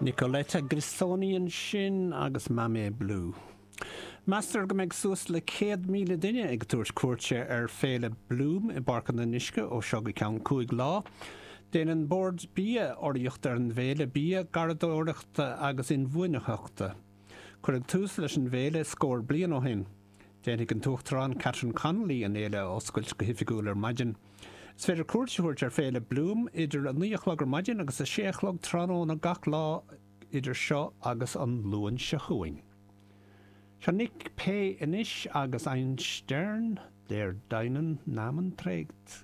Nicoletta Grisoni ansin agus Mammé Blue. Meastar go mbeidh suas le 100,000 duine ag tabhairt cuairte ar Féile Bloom i bPáirc an Fhionnuisce ó seo go ceann 5 lá. Déanann Bord Bia urraíocht ar an bhféile bia, garraíodóireachta agus inbhuanaitheachta. Cuireadh tús leis an bhféile scór bliain ó shin. Déanfaidh an tUachtarán Catherine Connolly an fhéile a oscailt go hoifigiúil ar maidin. Is féidir cuairt a thabhairt ar Féile Bloom idir 9 a chlog ar maidin agus 6 a chlog tráthnóna gach lá idir seo agus an Luan seo chugainn. Seo Nick Pay anois agus Ein Stern, der deinen Namen trägt.